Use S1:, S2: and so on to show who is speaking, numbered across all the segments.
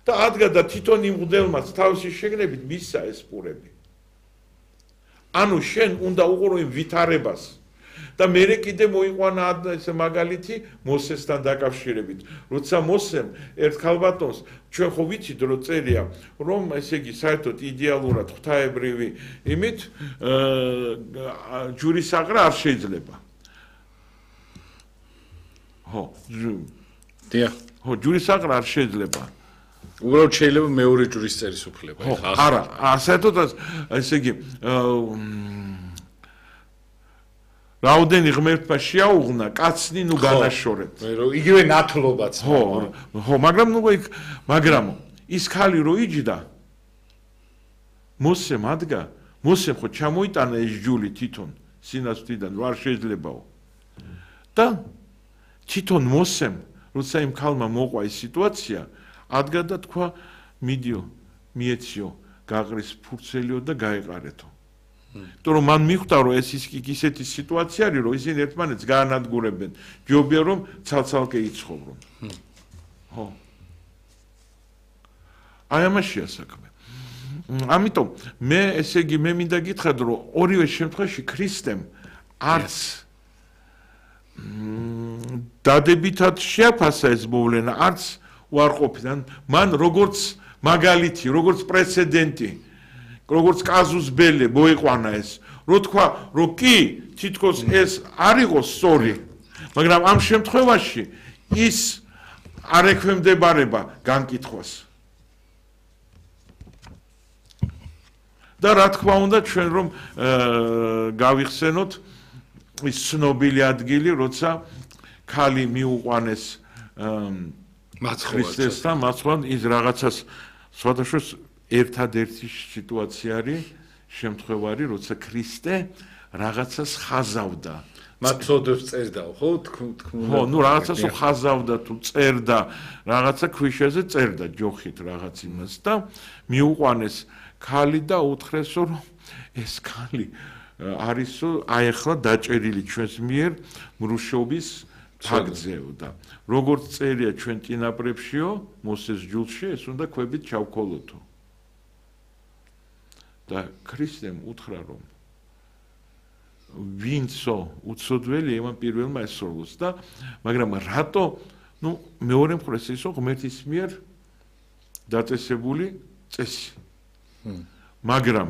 S1: და ადგა და თვითონ იმ მღვდელმაც თავისი შეგნებით მისცა ეს პურები. ანუ შენ უნდა უყურო იმ ვითარებას და მერე კიდე მოიყვანა ეს მაგალითი მოსესთან დაკავშირებით. როცა მოსემ ერთხელ ბატონს ჩვენ ხო ვიცით რომ წერია რომ ესე იგი საერთოდ იდეალურად ღვთაებრივი იმით ჯურისაყრა არ შეიძლება. ხო,
S2: დიახ.
S1: ხო, ჯურისაყრა არ შეიძლება.
S2: უბრალოდ შეიძლება მეორე ჯურის წერის უფლება.
S1: არა, საერთოდ ესე იგი რაოდენი ღმერთმა შეაუღნა, კაცნი ნუ განაშორეთ.
S2: იგივე ნათლობაც.
S1: ხო, მაგრამ ის ქალი რო იჯდა მოსემ ადგა, მოსემ ხო ჩამოიტანა ეს ჯული თვითონ სინასთიდან, რომ არ შეიძლებაო. და თვითონ მოსემ, როცა იმ ქალმა მოყვა ის სიტუაცია, ადგა და თქვა, მიდიო, მიეციო, გაყრის ფურცელიო და გაეყარეთო. იმიტომ რომ მან მიხვდა რომ ეს ისეთი სიტუაცია არის რომ ისინი ერთმანეთს გაანადგურებენ ჯობია რომ ცალ-ცალკე იცხოვრონ ხო აი ამაშია საქმე ამიტომ მე ესე იგი მე მინდა გითხრათ რომ ორივე შემთხვევაში ქრისტემ არც დადებითად შეაფასა ეს მოვლენა არც უარყოფიდან მან როგორც მაგალითი როგორც პრეცედენტი როგორც კაზუს ბელე მოიყვანა ეს რო თქვა რომ კი თითქოს ეს არ იყოს სწორი მაგრამ ამ შემთხვევაში ის არ ექვემდებარება განკითხვას და რა თქმა უნდა ჩვენ რომ გავიხსენოთ ის ცნობილი ადგილი როცა ქალი მიუყვანეს ქრისტესთან მაცხოვან ის რაღაცას სხვადასხვა ერთადერთი სიტუაცია არის შემთხვევარი როცა ქრისტე რაღაცას ხაზავდა
S2: მათ ცოდვებს წერდა ხო თქმულა
S1: ხო ნუ რაღაცას ხაზავდა თუ წერდა რაღაცა ქვიშაზე წერდა ჯოხით რაღაც იმას და მიუყვანეს ქალი და უთხრეს რომ ეს ქალი არისო აეხლა დაჭერილი ჩვენს მიერ მრუშობის თაგძეო და როგორც წერია ჩვენ წინაპრებშიო მოსეს ჯულში ეს უნდა ქვებით ჩავქოლოთო და ქრისტემ უთხრა რომ ვინცო უცოდველი იმან პირველმა ესწავლოს და მაგრამ რატო ნუ მეორე მხარეს ისო ღმერთის მიერ დაწესებული წესი მაგრამ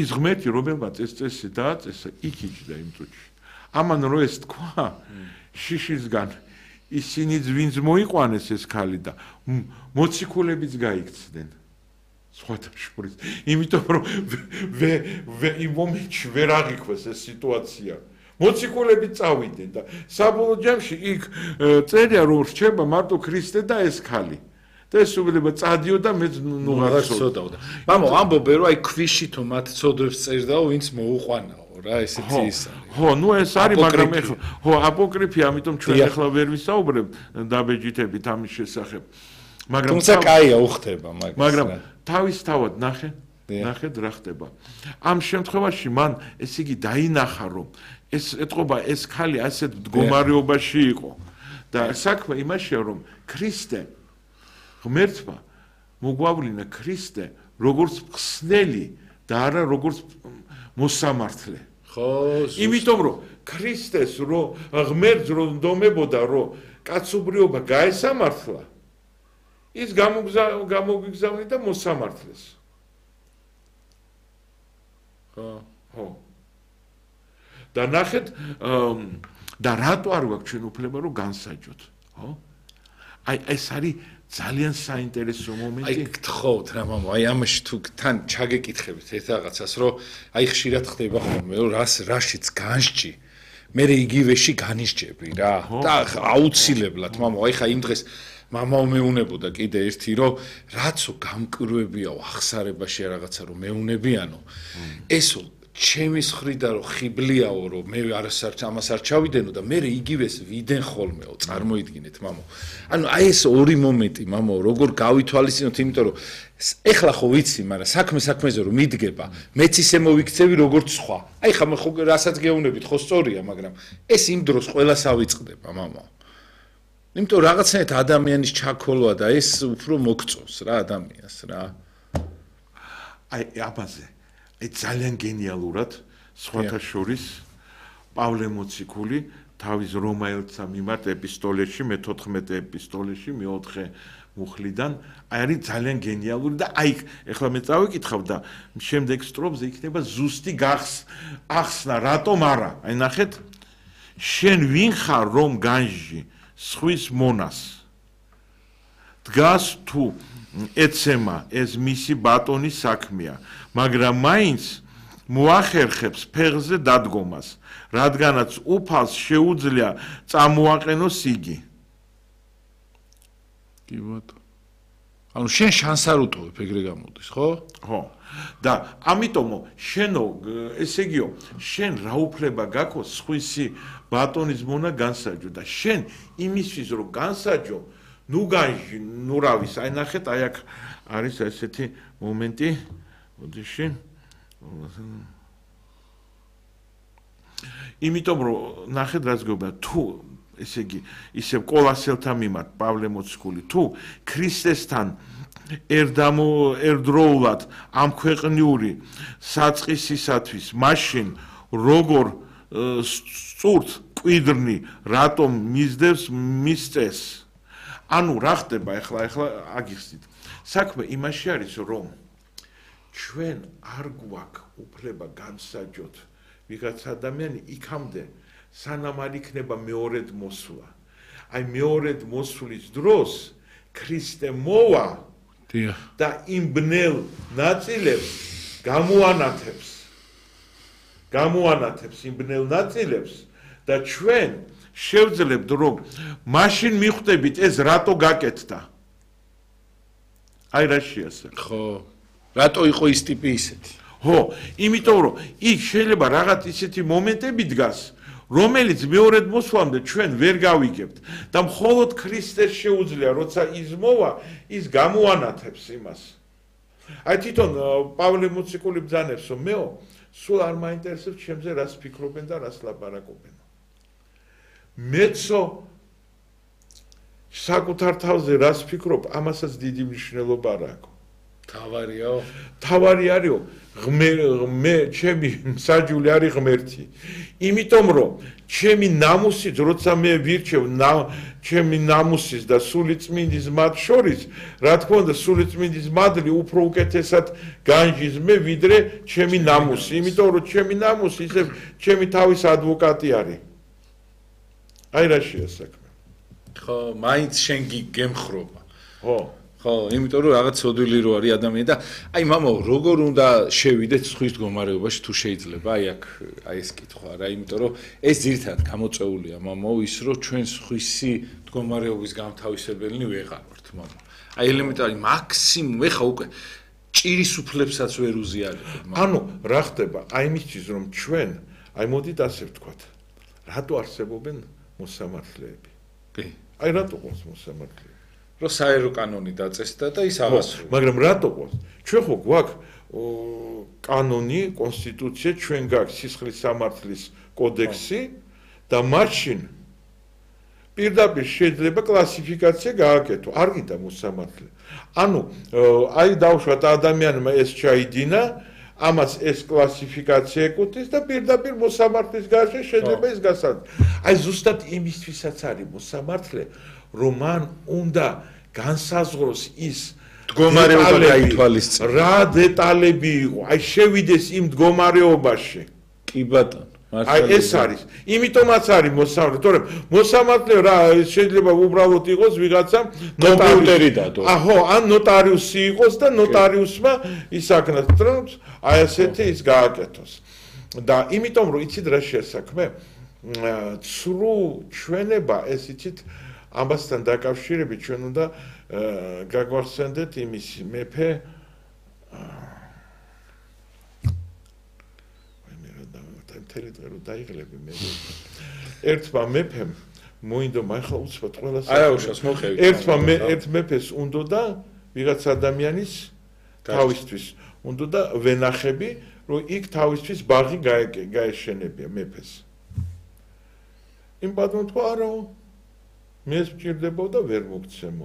S1: ის ღმერთი რომელმაც ეს წესი დააწესა იქ იჯდა იმ წუთში ამან რო ეს თქვა შიშისგან ისინი ვინც მოიყვანეს ეს ქალი და მოციქულებიც გაიქცდნენ სხვათა შორის იმიტომ რომ იმ მომენტში ვერ აღიქვეს ეს სიტუაცია მოციქულები წავიდნენ და საბოლოო ჯამში იქ წერია რომ რჩება მარტო ქრისტე და ეს ქალი და ეს უბრალოდ წადიო და მე ნუ
S2: აღარ ცოდავდა მამო ამბობე რომ აი ქვიში თუ მათ ცოდვებს წერდაო ვინც მოუყვანაო რა ესეთი ის არის
S1: ხო ნუ ეს არის მაგრამ ეხლა ხო აპოკრიფია ამიტომ ჩვენ ეხლა ვერ ვისაუბრებთ დაბეჯითებით ამის შესახებ მაგრამ
S2: თუმცა კაია უხდება
S1: მაგრამ თავისთავად ნახეთ რა ხდება ამ შემთხვევაში მან ესე იგი დაინახა რომ ეს ეთყობა ეს ქალი ასეთ მდგომარეობაში იყო და საქმე იმაშია რომ ქრისტე ღმერთმა მოგვავლინა ქრისტე როგორც ხსნელი და არა როგორც მოსამართლე
S2: ხო
S1: იმიტომ რომ ქრისტეს რო ღმერთს რო ნდომებოდა რომ კაცობრიობა გაესამართლა ის გამოგიგზავნიდა მოსამართლეს ხო და ნახეთ და რატო არ გვაქვს ჩვენ უფლება რომ განსაჯოთ ხო აი ეს არის ძალიან საინტერესო მომენტი
S2: აი გთხოვთ რა მამო აი ამაში თუ თან ჩაგეკითხებით ერთ რაღაცას რომ აი ხშირად ხდება ხოლმე რომ რაშიც განსჭი მე იგივეში განისჭები რა და აუცილებლად მამო აი ხა იმ დღეს მამაო მეუნებოდა კიდე ერთი რომ რაცო გამკრვებიაო ახსარებაში რაღაცა რომ მეუნებიანო ესო ჩემის ხრიდან რომ ხიბლიაო რომ მე ამას არ ჩავიდენო და მე იგივეს ვიდენ ხოლმეო წარმოიდგინეთ მამო ანუ აი ეს ორი მომენტი მამო როგორ გავითვალისწინოთ იმიტომ რომ ეხლა ხო ვიცი მაგრამ საქმეზე რომ მიდგება მეც ისე მოვიქცევი როგორც სხვა აი ხა მე ხო რასაც გეუბნებით ხო სწორია მაგრამ ეს იმ დროს ყველას ავიწყდება მამო იმიტომ რაღაცნაირად ადამიანის ჩაქოლვა და ეს უფრო მოგწონს რა ადამიანს რა.
S1: აი აბაზე, აი ძალიან გენიალურად სხვათა შორის პავლე მოციქული თავის რომაელთა მიმართ ეპისტოლეში, მე-14 ეპისტოლეში, მე-4 მუხლიდან, აი არის ძალიან გენიალური და აი ეხლა მე წავიკითხავ და შემდეგ სტროფზე იქნება ზუსტი ახსნა, რატომ არა? აი ნახეთ, შენ ვინ ხარ რომ განжжи სხვის მონას? დგას თუ ეცემა ეს მისი ბატონის საქმეა, მაგრამ მაინც მოახერხებს ფეხზე დადგომას, რადგანაც უფალს შეუძლია წამოაყენოს იგი.
S2: კი ბატონო. ანუ შენ შანს არ უტოვებ, ეგრე გამოდის, ხო?
S1: ხო. და ამიტომ შენო, ესე იგიო, შენ რა უფლება გაქვს სხვისი ბატონის მონა განსაჯო და შენ იმისთვის რომ განსაჯო, ნუ განжжи, ნუ რავის, აი ნახეთ, აი აქ არის ესეთი მომენტი, ოდიში. იმიტომ რომ ნახეთ რაც გეუბნა, თუ ესე იგი, ისევ კოლასელთა მიმართ პავლე მოციქული, თუ ქრისტესთან ერთდროულად ამ ქვეყნიური საწყისისათვის, მაშინ როგორ სწურთ კვიდრნი, რატომ მისდევს მის წესს? ანუ რა ხდება ახლა აგიხსნით. საქმე იმაში არის, რომ ჩვენ არ გვაქვს უფლება განსაჯოთ ვიღაც ადამიანი იქამდე, სანამ არ იქნება მეორედ მოსვლა. აი მეორედ მოსვლის დროს ქრისტე მოვა და იმ ბნელ ნაწილებს გამოანათებს იმ ბნელ ნაწილებს და ჩვენ შევძლებთ რომ მაშინ მიხვდებით ეს რატო გაკეთდა. აი რა შეასახა.
S2: ხო. რატო იყო ის ტიპი ისეთი?
S1: ხო, იმიტომ რომ იქ შეიძლება რაღაც ისეთი მომენტები დგას, რომელიც მეორედ მოსვლამდე ჩვენ ვერ გავიგებთ და მხოლოდ ქრისტეს შეუძლია, როცა ის მოვა, ის გამოანათებს იმას. აი თვითონ პავლე მოციქული ბრძანებს, რომ მეო, სულ არ მაინტერესებს ჩემზე რას ფიქრობენ და რას ლაპარაკობენ. მეცო საკუთარ თავზე რას ფიქრობ, ამასაც დიდი მნიშვნელობა არ აქვს. თავარი არისო, მე ჩემი მსაჯული არის ღმერთი. იმიტომ რომ ჩემი ნამუსით, როცა მე ვირჩევ ჩემი ნამუსის და სულიწმინდის მათ შორის, რა თქმა უნდა, სულიწმინდის მადლი უფრო უკეთესად განжжის მე ვიდრე ჩემი ნამუსი, იმიტომ რომ ჩემი ნამუსი ისე ჩემი თავის ადვოკატი არის. აი რა შეასაქმე.
S2: ხო, მაინც შენ გემხრობა.
S1: ხო.
S2: ხო, იმიტომ რომ რაღაც სოდვილი რო არის ადამიანი და აი მამაო, როგორ უნდა შევიდეთ სხვის მდგომარეობაში თუ შეიძლება? აი აქ აი ეს კითხვა რა, იმიტომ რომ ეს ძირითადად გამოწეულია მამაო ის რომ ჩვენ სხვისი მდგომარეობის გამთავისებელნი ვეღარ ვართ მამაო. აი ელემენტარი მაქსიმუმ ეხა უკვე ჭირის უფლებსაც ვერ უზიარებთ.
S1: ანუ რა ხდება? აი იმისთვის რომ ჩვენ აი მოდით ასე ვთქვათ, რატო არსებობენ მოსამართლეები?
S2: კი.
S1: აი რატო ყავს მოსამართლეები?
S2: რო საერო კანონი დაწესდა და ის აღასრულა.
S1: მაგრამ რატო ყავს? ჩვენ ხო გვაქვს კანონი, კონსტიტუცია, ჩვენ გაქვს სისხლის სამართლის კოდექსი და მაშინ პირდაპირ შეიძლება კლასიფიკაცია გააკეთო. არ გინდა მოსამართლე. ანუ აი დავუშვათ ადამიანმა ეს ჩაიდინა, ამას ეს კლასიფიკაცია ეკუთვნის და პირდაპირ მოსამართლის გარშე შეიძლება ის გასცადოს. აი ზუსტად იმისთვისაც არის მოსამართლე, რომ მან უნდა განსაზღვროს ის
S2: მდგომარეობა გაითვალისწინოს.
S1: რა დეტალები იყო, აი შევიდეს იმ მდგომარეობაში.
S2: კი ბატონო.
S1: აი ეს არის. იმიტომაც არის მოსამართლე, თორემ მოსამართლე რა შეიძლება უბრალოდ იყოს ვიღაცა
S2: კომპიუტერი დადო.
S1: აჰო, ან ნოტარიუსი იყოს და ნოტარიუსმა ისაკნას, რომ აი ასეთი ის გააკეთოს. და იმიტომ რომ იცით რა შეასაქმე? ცრუ ჩვენება ეს იცით ამასთან დაკავშირებით ჩვენ უნდა გაგვახსენდეთ იმის მეფე მთელი დღე რომ დაიღლები მე ერთმა მეფემ მოინდო ახლა უცბად ყველას
S2: არა უშავს მოხევი
S1: ერთ მეფეს უნდოდა ვიღაც ადამიანის თავისთვის უნდოდა ვენახები რომ იქ თავისთვის ბაღი გაეშენებია მეფეს იმ ბატონო თქვა არა მე სჭირდებოდა ვერ მოგცემო.